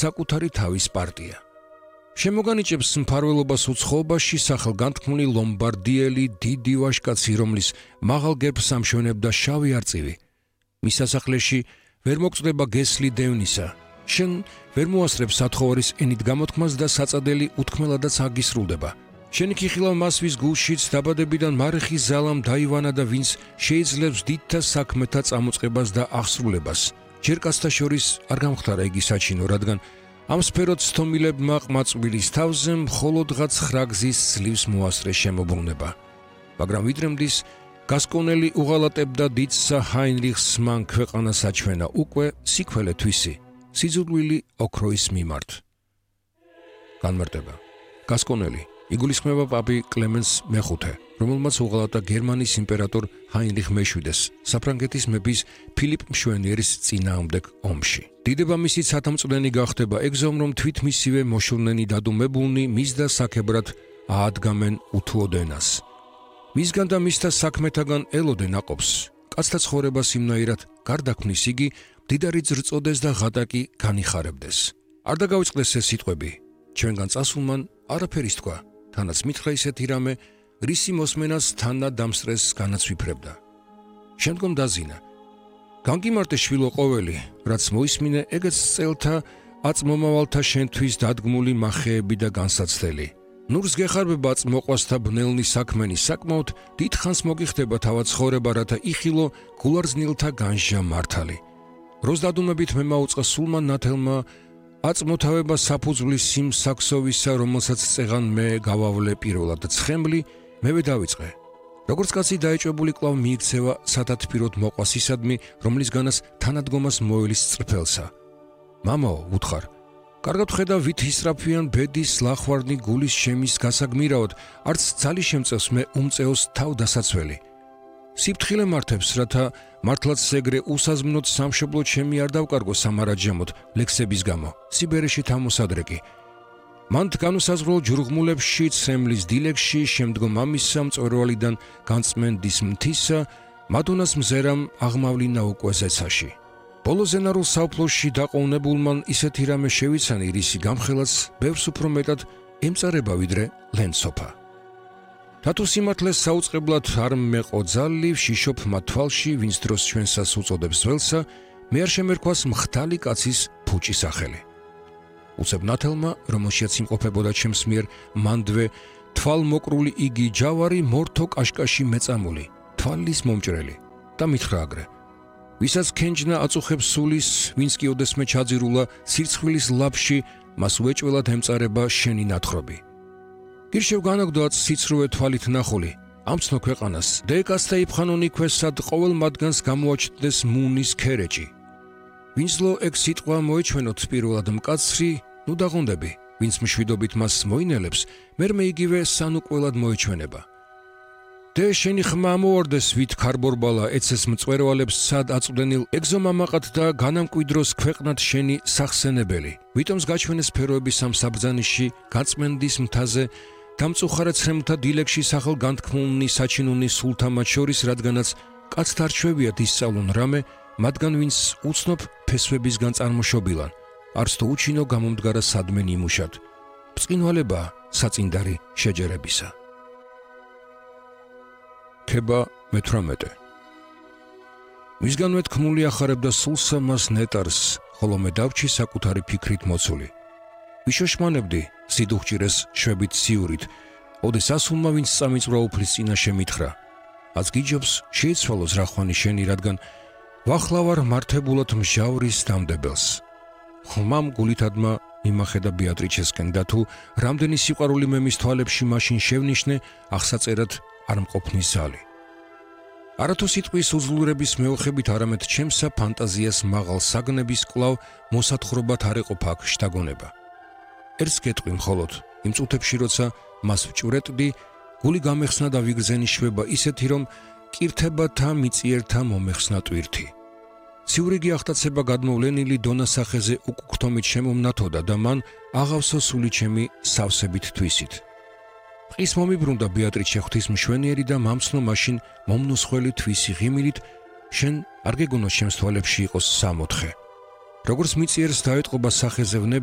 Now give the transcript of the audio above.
საკუთარი თავის პარტია. შემოგანიჭებს მფარველობას უცხოობაში სახელგანთქმული ლომბარდიელი დიდი ვაჟკაცი, რომლის მაღალ გერბს ამშვენებდა შავი არწივი. მის სასახლეში ვერ მოგწდება გესლი დევნისა. შენ ვერ მოასწრებს სათხოვარის ენით გამოთქმას და საწადელი უთქმელადაც აგისრულდება. შენი ქიხილა მას ვის გულშიც დაბადებიდან მარეხი ზალამ დაივანა და ვინც შეიძლებს დიდთა საქმეთა წამოწყებას და აღსრულებას. ჯერ კაცთა შორის არ გამختარა იგი საჩინო, რადგან ამ სფეროთ სტომილებმა ყმაწვილის თავზე მხოლოდღაც ხრაგზის ძლივს მოასწრე შემოbrunება. მაგრამ ვიდრემდის გასკონელი უღალატებდა დიდსა ჰაინრიხს მან ქვეყანა საჩვენა უკვე სიქველე თვისი, სიძულვილი ოქროის მიმართ. განმარტება. გასკონელი იგულისხმება პაპი კლემენს მეხუთე, რომელმაც უღალატა გერმანიის იმპერატორ ჰაინრიხ მეშვიდეს საფრანგეთის მეფის ფილიპ მშვენიერის წინააღმდეგ ომში. დიდება მისი სათამწვდენი გახდება ეგზომ, რომ თვით მისივე მოშურნენი დადუმებულნი მის და საქებრად აადგამენ უთუოდენას. მისგან და მისთა საქმეთაგან ელოდენ აყოფს. კაცთა ცხოვრებას იმნაირად გარდაქმნის იგი, მდიდარი ძრწოდეს და ღატაკი განიხარებდეს. არ დაგავიწყდეს ეს სიტყვები. ჩვენგან წასულმან არაფერის თქვა, თანაც მითხრა ისეთი რამე, რისი მოსმენას თანა დამსწრეს განაცვიფრებდა. შემდგომ დაზინა. განგიმარტე შვილო ყოველი, რაც მოისმინე ეგეც წელთა აწმომავალთა შენთვის დადგმული მახეები და განსაცდელი. ნურს გეხარბება აწმოყვასთა ბნელნი საქმენი, საკმაოდ დიდხანს მოგიხდება თავად ცხოვრება, რათა იხილო გულარზნილთა განსჯა მართალი. როს დადუმებით მე მაუწყა სულმან ნათელმა აწმოთავება საფუძვლის იმ საქსოვისა, რომელსაც წეღან მე გავავლე პირველად ცხემლი, მევე დავიწყე. როგორც კაცი დაეჭვებული კვლავ მიიქცევა სათათბიროდ მოყვას ისადმი, რომლისგანაც თანადგომას მოელის წრფელსა. მამაო, უთხარ, კარგად ხედა ვით ისრაფიან ბედის ლახვარნი გულის შემის გასაგმირაოდ, არც ძალი შემწევს მე უმწეოს თავ დასაცველი. სიფთხილე მართებს, რათა მართლაც ეგრე უსაზმნოდ სამშობლო ჩემი არ დავკარგო სამარაჯამოდ ლექსების გამო, სიბერეში თამოსადრეკი. მან განუსაზღვრელ ჯურღმულებში, ცემლის დილეგში, შემდგომ ამისა მწვერვალიდან განწმენდის მთისა, მადონას მზერამ აღმავლინა უკვე ზეცაში. ბოლო ზენარულ საუფლოში დაყოვნებულმან ისეთი რამე შევიცანი, რისი გამხელაც ბევრს უფრო მეტად ემწარება ვიდრე ლენცოფა. რატო სიმართლეს საუწყებლად არ მეყო ძალი, ვშიშობ მათ თვალში, ვინც დროს ჩვენსას უწოდებს ძველსა, მე არ შემერქვას მხთალი კაცის ფუჭი სახელი. უცებ ნათელმა, რომელშიაც იმყოფებოდა ჩემს მიერ მანდვე თვალმოკრული იგი ჯავარი მორთო კაშკაში მეწამული, თვალის მომჭრელი და მითხრა აგრე. ვისაც ქენჯნა აწუხებს სულის, ვინც კი ოდესმე ჩაძირულა სირცხვილის ლაფში, მას უეჭველად ემწარება შენი ნათხრობი. გირშევ განაგდოაც სიცრუე თვალით ნახული, ამცნო ქვეყანას, დეკასთა იფხანონი ქვესად ყოველ მათგანს გამოაჩნდეს მუნის ქერეჭი. ვინცლო ეგ სიტყვა მოეჩვენოთ პირველად მკაცრი, ნუ დაღონდები, ვინც მშვიდობით მას მოინელებს, მერმე იგივე სანუყველად მოეჩვენება. დე შენი ხმა ამოვარდეს ვით ქარბორბალა ეცეს მწვერვალებს სად აწვდენილ ეგზომამაყად და განამკვიდროს ქვეყნად შენი სახსენებელი. ვიტომს გაჩვენეს სფეროების ამ საბრძანიში გაწმენდის მთაზე დამწუხარა ცრემლთა დილეგში სახელ განთქმულნი საჩინუნი სულთა მათ შორის, რადგანაც კაცთა არჩევიათ ისწავლონ რამე, მათგან ვინც უცნობ ფესვებისგან წარმოშობილან, არც თუ უჩინო გამომდგარა სადმე ნიმუშად. ბრწყინვალება საწინდარი შეჯერებისა. ქება მე-18. მისგანვე თქმული ახარებდა სულსა მას ნეტარს, ხოლო მე დავჩი საკუთარი ფიქრით მოცული. ვიშოშმანებდი სიდუხჭირეს შვებით სიურით, ოდეს ასულმა ვინც წამიწვრა უფლის წინაშე მითხრა. აც გიჯობს შეიცვალოს რახვანი შენი, რადგან ვახლავარ მართებულად მსჯავრის დამდებელს. ხმამ გულითადმა მიმახედა ბეატრიჩესკენ და თუ რამდენი სიყვარული მე მის თვალებში მაშინ შევნიშნე, აღსაწერად არ მყოფნის ზალი. არათუ სიტყვის უძლურების მეოხებით, არამედ ჩემსა ფანტაზიას მაღალ საგნების კვლავ მოსათხრობად არ ეყოფა აქ შთაგონება. ერთს გეტყვი მხოლოდ, იმ წუთებში როცა მას ვჭვრეტდი, გული გამეხსნა და ვიგრძენი შვება ისეთი, რომ კირთებათა მიწიერთა მომეხსნა ტვირთი. ციურიგი აღტაცება გადმოვლენილი დონასახეზე უკუქთომით შემომნათოდა და მან აღავსო სული ჩემი სავსებით თვისით. ყის მომიბრუნდა ბეატრიჩე ღვთისმშვენიერი და მამცნო მაშინ მომნუსხველი თვისი ღიმილით, შენ არ გეგონოს ჩემს თვალებში იყოს 64. როგორც მიწიერს დაეტყობა სახეზე ვნება,